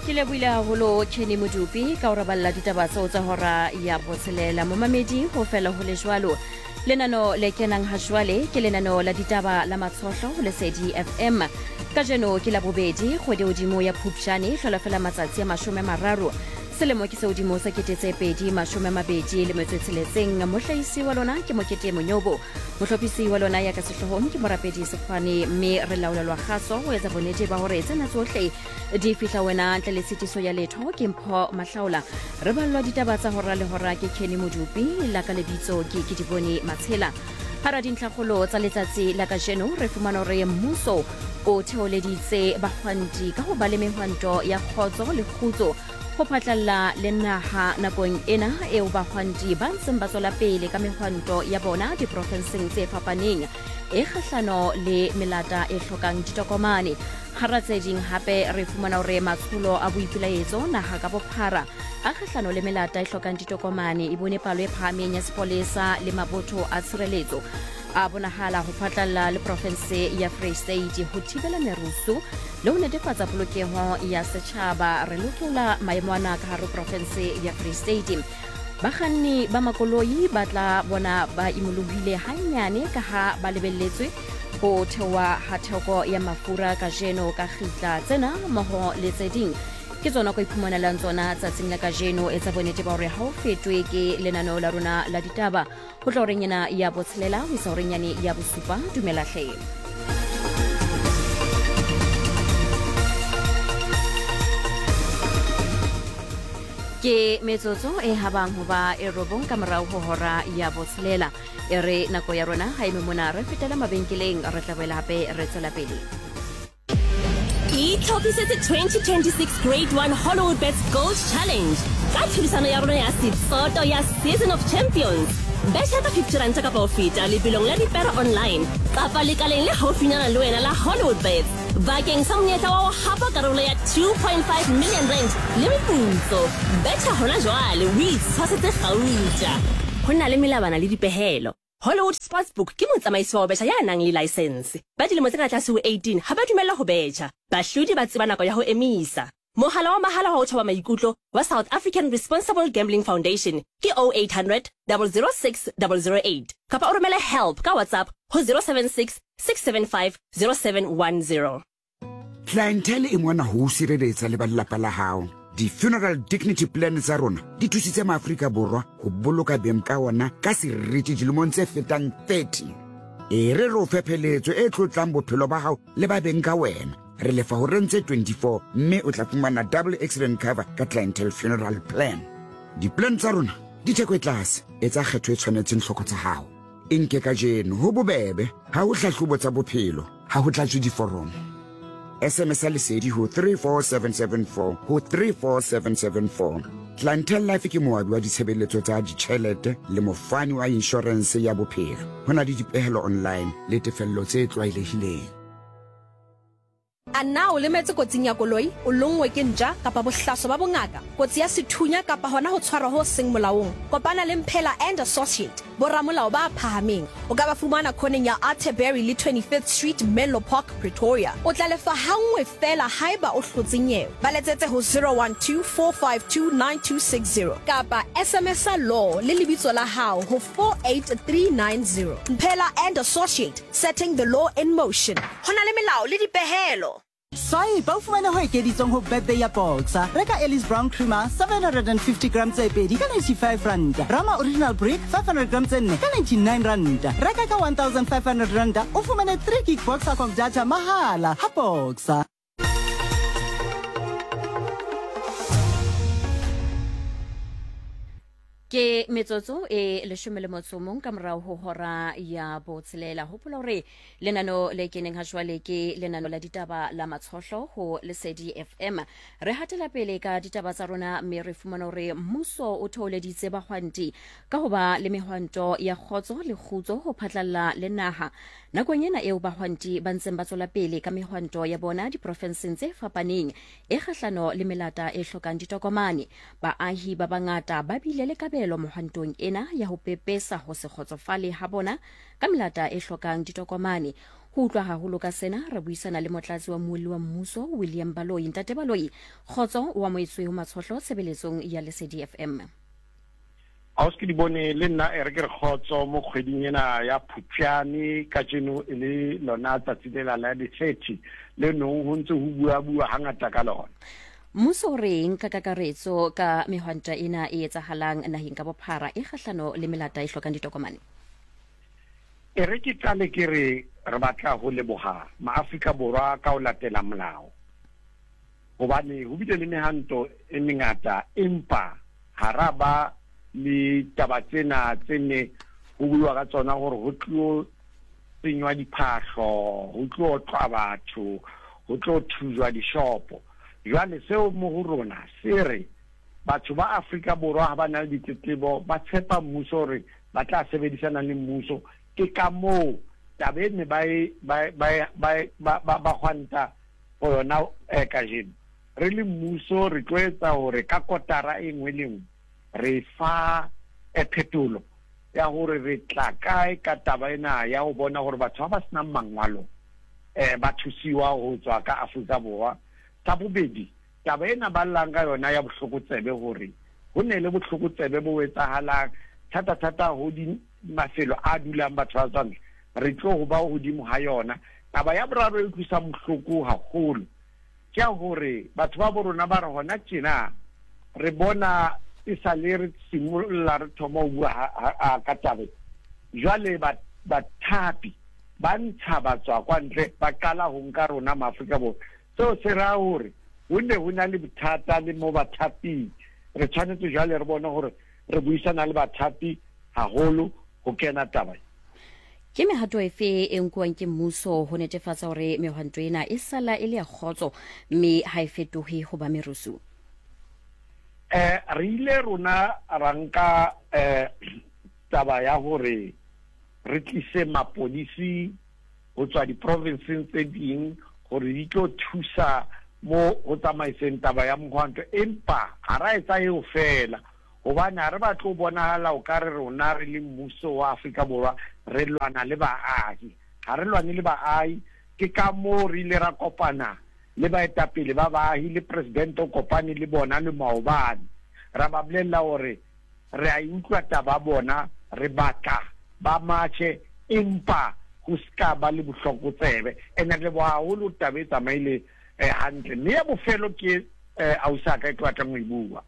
Ke lebohile haholo Kenny Modupi ka ho raballa ditaba tseo tsa hora ya botshelela. Momamedi ho fela ho le jwalo. Lenano le kenang ha jwale ke lenano la ditaba la Matshohlo ho Lesedi FM. Kajeno ke la bobedi kgwedi hodimo ya Phupjane hlola fela matsatsi a 30. Selemo ke se hodimo sa 2026. Mohlahisi wa lona ke Mokete Monyobo. Mohlophisi wa lona ya ka sehloohong ke Morapedi Sekgwane mme re laolelwa kgaso ho etsa bonnete ba hore tsena tsohle di fihla wena ntle le tshitiso ya letho. Ke Mpho Mahlaola. Re ballwa ditaba tsa hora le hora ke Kenny Modupi, la ka lebitso ke Kedibone Matshela. Hara dintlhakgolo tsa letsatsi la kajeno re fumana hore mmuso o theoleditse bahwanti ka ho ba le mehwanto ya kgotso le kgutso ho phatlalla le naha nakong ena eo bahwanti ba ntseng ba tswela pele ka mehwanto ya bona diprofenseng tse fapaneng e kgahlano le melata e hlokang ditokomane. Hara tse ding hape re fumana hore matsholo a boipelaetso naha ka bophara a kgahlano le melata e hlokang ditokomane e bone palo e phahameng ya sepolesa le mabotho a tshireletso a bonahala ho phatlalla le profense ya Free State ho thibela merusu le ho netefatsa polokeho ya setjhaba. Re lokola maemo ana ka hare profense ya Free State. Bakganni ba makoloi ba tla bona ba imolohile hannyane ka ha ba lebelletswe ho theoha ha theko ya mafura kajeno ka kgitla. Tsena mmoho le tse ding ke tsona ko iphumanelang tsona tsatsing la kajeno. Etsa bonnete ba hore ha o fetwe ke lenaneo la rona la ditaba ho tla horeng ena ya botshelela ho isa horeng yane ya bosupa. Dumela hle. Ke metsotso e habang ho ba e robong ka morao ho hora ya botshelela. E re nako ya rona ha eme mona, re fetela mabenkeleng, re tla boela hape re tswela pele. Itlhophisetse 2026 Grade 1 Hollywood Bets Gold Challenge ka tlhodisano ya rona ya setsoto ya Season of Champions. Betšha ka 50 ranta kapa ho feta lebelong la dipere online kapa lekaleng le haufinyana le wena la Hollywood Bets bakeng sa monyetla wa ho hapa karolo ya 2.5 million rand le meputso. Betšha hona jwale o itshwasetse gauta. Ho na le melawana le dipehelo. Hollywood Sportsbook ke motsamaisi wa ho betjha ya nang le laesense. Ba dilemo tse ka tlase ho 18 ha ba dumellwa ho betjha. Bahlodi ba tseba nako ya ho emisa. Mohala wa mahala wa ho thoba maikutlo wa South African Responsible Gambling Foundation ke 0800 006 008 kapa o romele help ka WhatsApp ho 076 675 0710. Clientele e mona ho o sireletsa le ba lelapa la hao. Di-funeral dignity plan tsa rona di thusitse Maafrika Borwa ho boloka beng ka ona ka seriti dilemong tse fetang 30. E re re o fe pheletso e tlotlang bophelo ba hao le ba beng ka wena. Re lefa horeng tse 24 mme o tla fumana double accident cover ka Clientele Funeral Plan. Di-plan tsa rona di theko e tlase, etsa kgetho e tshwanetseng tlhoko tsa hao. E nke kajeno, ho bobebe, ha ho hlahlobo tsa bophelo, ha ho tlatswe diforomo. SMS ya Lesedi ho 34774 ho 34774. Clientele Life ke moabi wa ditshebeletso tsa ditjhelete le mofani wa inshorense ya bophelo. Ho na le dipehelo online le tefello tse tlwaelehileng. A na o lemetse kotsing ya koloi, o lonngwe ke ntja kapa bohlaso ba bongaka, kotsi ya sethunya kapa hona ho tshwarwa ho seng molaong? Kopana le Mphela and Associate, boramolao ba phahameng. O ka ba fumana khoneng ya Atterbury le 25th Street, Menlo Park, Pretoria. O tla lefa hanngwe feela haeba o hlotse nyewe. Ba letsetse ho 012 452 9260 kapa SMS-a law le lebitso la hao ho 48390. Mphela and Associate, setting the law in motion. Ho na le melao le dipehelo. Swipe o fumane ho ekeditsweng ho birthday ya Boxer. Reka Ellis Brown Creamer 750 gram tse pedi ka 95 ranta. Rama Original Brick 500 gram tse nne ka 99 ranta. Reka ka 1500 ranta o fumane 3 gig Boxercom data mahala ha Boxer. Ke metsotso e leshome le motso mong ka morago ho hora ya botshelela. Hopola hore lenano le keneng ha jwale ke lenano la ditaba la Matshohlo ho Lesedi FM. Re hatela pele ka ditaba tsa rona mme re fumana hore mmuso o theoleditse bahwanti ka ho ba le mehwanto ya kgotso le kgutso ho phatlalla le naha. Nakong ena eo bahwanti ba ntseng ba tswela pele ka mehwanto ya bona diprofenseng tse fapaneng e kgahlano le melata e hlokang ditokomane, baahi ba bangata ba bile le kabelo mohwantong ena ya ho pepesa ho se kgotsofale ha bona ka melata e hlokang ditokomane. Ho utlwa haholo ka sena, re buisana le motlatsi wa mmuelli wa mmuso, William Baloyi. Ntate Baloyi, kgotso, o amohetswe ho Matshohlo tshebeletsong ya Lesedi FM. Ausi ke di bone le nna e re ke re kgotso mo kgweding ena ya Phupjane kajeno e le lona tsatsi lela la di-30 le nong ho ntse ho bua-bua hangata ka lona. Mmuso o reng ka kakaretso ka mehwanta ena e etsahalang naheng ka bophara e kgahlano le melata e hlokang ditokomane? E re ke qale ke re re batla ho leboha Maafrika Borwa ka ho latela molao hobane ho bile le mehanto e mengata empa ha ra ba le taba tsena tse ne ho buiwa ka tsona hore ho tlo senywa diphahlo, ho tlo otlwa batho, ho tlo thujwa dishopo. Jwale seo mo ho rona se re batho ba Afrika Borwa ha ba na le ditletlebo ba tshepa mmuso hore ba tla sebedisana le mmuso. Ke ka moo taba e ne ba e ba ba ba ba ba hwanta for yona eh, kajeno. Re le mmuso re tlo etsa hore ka kotara e nngwe le nngwe re fa phetolo ya hore re tla kae ka taba ena ya ho bona hore batho ba ba senang mangwalo ba thusiwa ho tswa ka Afrika Borwa. Sa bobedi, taba ena ba llang ka yona ya bohlokotsebe hore ho ne le bohlokotsebe bo etsahalang thata-thata ho di mafelo a dulang batho ba tswa ntle, re tlo ho ba hodimo ha yona. Taba ya boraro e utlwisang bohloko haholo ke ya hore batho ba bo rona ba re hona tjena re bona e sa le re simolola re thoma ho bua ka taba e. Jwale bathapi ba ntsha batswa kwa ntle ba qala ho nka rona Maafrika Borwa. Seo se raya hore ho ne ho na le bothata le mo bathaping. Re tshwanetse jwale re bone hore re buisana le bathapi haholo ho kena taba e. Ke mehato efe e nkuwang ke mmuso ho netefatsa hore mehwanto ena e sala e le ya kgotso mme ha e fetohe ho ba merusu? Eh, re ile rona ra nka eh, taba ya hore re tlise mapodisi ho tswa diprovinseng tse ding hore di tlo thusa mo ho tsamaiseng taba ya mohwanto, empa ha ra etsa eo feela. Hobane ha re batle ho bonahala o ka re rona re le mmuso wa Afrika Borwa re lwana le baahi. Ha re lwane le baahi, ke ka moo re ile ra kopana le baetapele ba baahi le presidente o kopane le bona le maobane. Ra ba bolella hore re a e utlwa taba bona, re batla ba matjhe empa ho ska ba le bohlokotsebe. Ene re leboha haholo taba e tsamaile hantle. Mme ya bofelo ke ausi a ka e ke batlang ho e bua.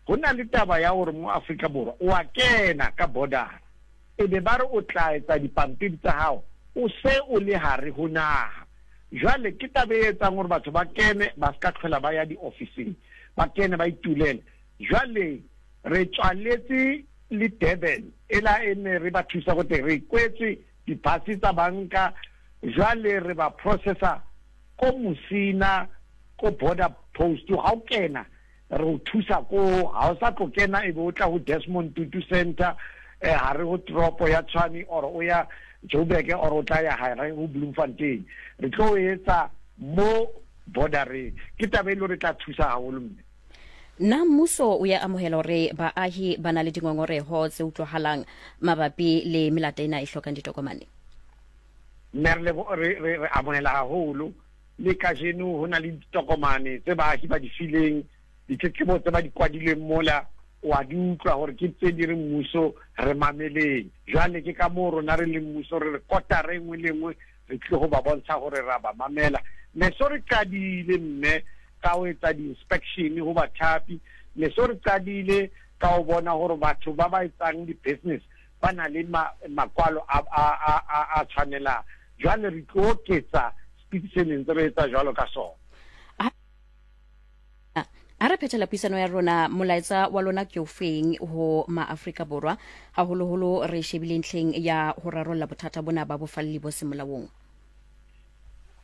Ho na le taba ya hore mo Afrika Borwa o a kena ka border e be ba re o tla etsa dipampiri tsa hao o se o le hare ho naha. Jwale ke taba e etsang hore batho ba kene ba ska tlhola ba ya diofising, ba kene ba itulele. Jwale re tswaletse le Durban ela e ne re ba thusa ko teng, re kwetswe di-bus tsa banka, jwale re ba processa ko Musina ko border post ha o kena Re o thusa koo, ha o sa tlo kena e be o tla ho Desmond Tutu Centre eh, hare ho toropo ya Tshwane or o ya Joburg or o tla ya hare ho Bloemfontein. Re tlo o etsa mo bordereng. Ke taba e le hore e tla thusa haholo mme. Na mmuso o ya amohela hore baahi ba na le dingongoreho tse utlwahalang mabapi le melata ena e hlokang ditokomane? Mme re, re, re, re amohela haholo. Le kajeno ho na le ditokomane tse baahi ba di fileng, ditletlebo tse ba di kwadileng mola, o a di utlwa hore ke tse di reng mmuso re mameleng. Jwale ke ka moo rona re leng mmuso re re kotara e nngwe le e nngwe re tlile ho ba bontsha hore re a ba mamela. Ne so re qadile mme ka ho etsa di-inspection ho bathapi, ne so re qadile ka ho bona hore batho ba ba etsang di-business ba na le makwalo a, a, a, a, a tshwanelang. Jwale re tlo oketsa speed se neng re etsa jwalo ka sona. A re phethela puisano ya rona, molaetsa wa lona ke ofeng ho maAfrika Borwa, haholoholo re shebile ntlheng ya ho rarolla bothata bona ba bofalli bo seng molaong?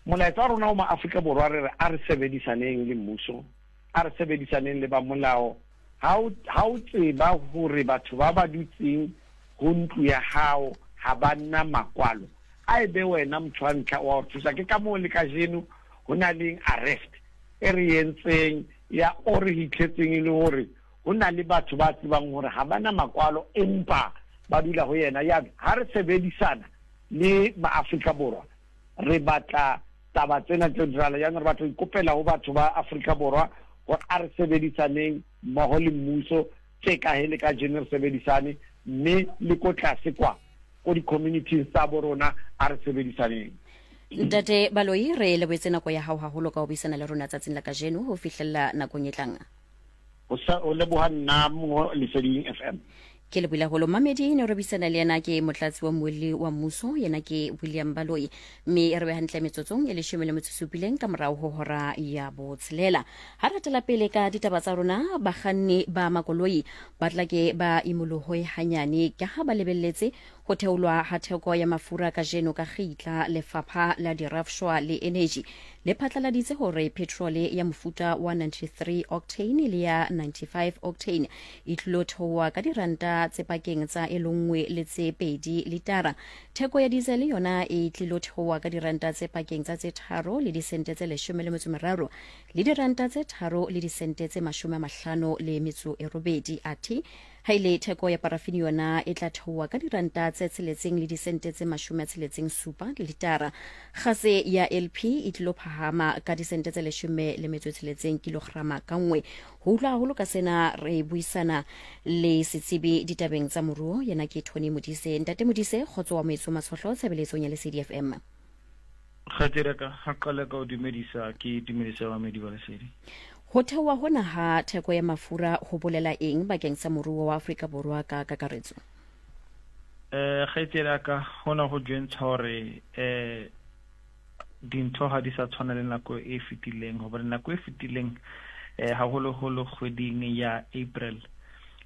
Molaetsa wa rona ho maAfrika Borwa re re a re sebedisaneng le mmuso, a re sebedisaneng le ba molao. Ha o, ha o tseba hore batho ba ba dutseng ho ntlo ya hao ha ba na makwalo, a e be wena motho wa ntlha wa ho thusa. Ke ka moo le kajeno ho na leng arrest e re entseng ya o re hitlhetseng e le hore ho na le batho ba tsebang hore ha ba na makwalo empa ba dula ho yena. Ya ha re sebedisana le maAfrika Borwa. Re batla taba tsena tse dirala. Jaanong re batla ho ikopela ho batho ba Afrika Borwa hore a re sebedisaneng mmoho le mmuso tje ka he le kajeno re sebedisane, mme le ko tlase kwa ko di-communities tsa bo rona a re sebedisaneng. Ntate Baloyi, re lebohetse nako ya hao haholo ka ho buisana le rona tsatsing la kajeno ho fihlella nakong e tlang. Ho sa ho leboha nna mo Leseding FM. Ke lebohile haholo mmamedi ne re buisana le yena ke motlatsi wa mmuelli wa mmuso yena ke William Baloyi mme re be hantle metsotsong e leshome le metso supileng ka morao ho hora ya botshelela. Ha re tela pele ka ditaba tsa rona bakganni ba makoloi ba tla ke ba imolohoe hanyane ka ha ba lebelletse ho theolwa ha theko ya mafura kajeno ka kgitla. Lefapha la Dirafshwa le Eneji le phatlaladitse hore petrole ya mofuta wa 93 octane le ya 95 octane e tlilo theoha ka diranta tse pakeng tsa e le le tse pedi litara. Theko ya diesel yona e tlilo theoha ka diranta tse pakeng tsa tse tharo le disente tse leshome le metso meraro le diranta tse tharo le disente tse mashome a mahlano le metso e robedi. Athe Ha e le theko ya parafini yona e tla theoha ka diranta tse tsheletseng le disente tse mashome a tsheletseng supa litara. Gase ya LP e tlilo phahama ka disente tse leshome le metso e tsheletseng kilograma ka nngwe. Ho utlwa haholo ka sena re buisana le setsebi ditabeng tsa moruo, yena ke Tony Modise. Ntate Modise, kgotso wa moetso Matshohlo tshebeletsong ya Lesedi FM. Kgaitsedi ya ka, ga qale ka o dumedisa, ke dumedisa bamedi ba Lesedi. Ho theoha hona ha theko ya mafura ho bolela eng bakeng sa moruo wa Afrika Borwa ka kakaretso? Eh, kgaitsedi ya ka, hona ho jwentsha hore eh dintho ha di sa tshwana le nako e fetileng, hobane nako e fetileng eh haholoholo kgweding ya April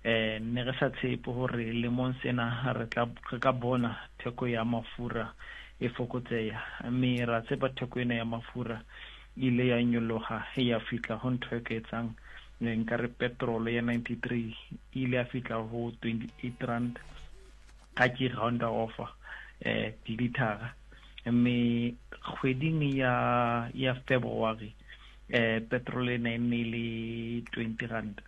eh ne re sa tshepe hore lemong sena re tla re ka bona theko ya mafura e fokotseha, mme ra tseba theko ena ya mafura e ile ya nyoloha ya fihla ho ntho e ka etsang nka re petrol ya 93 e ile ya fihla ho 28 rand ga ke rounda off eh dilithara, mme kgweding ya ya February eh petrol ena e ne le 20 rand.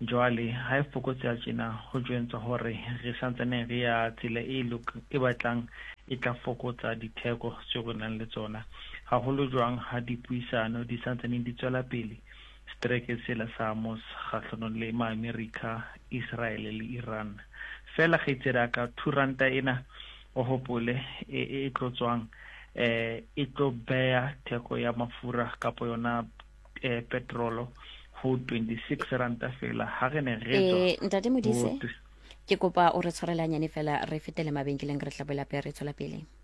Jwale ha e fokotseha tjena ho jwentswa hore re santsane re ya tsela e lok e batlang e tla fokotsa ditheko tseo re nang le tsona, haholo jwang ha dipuisano di santsaneng di tswela pele seterekeng sela sa Amos kgahlanong le Maamerika, Israele le Iran. Feela kgaitsedi ya ka, two ranta ena o hopole e e tlo tswang e tlo beya theko ya mafura kapo yona eh, petrolo ho 26 ranta fela ha re ne re tswa eh, ntate Modise ke kopa o re tshwarele hanyane fela re fetele mabenkeleng re tla boela pe re tswela pele.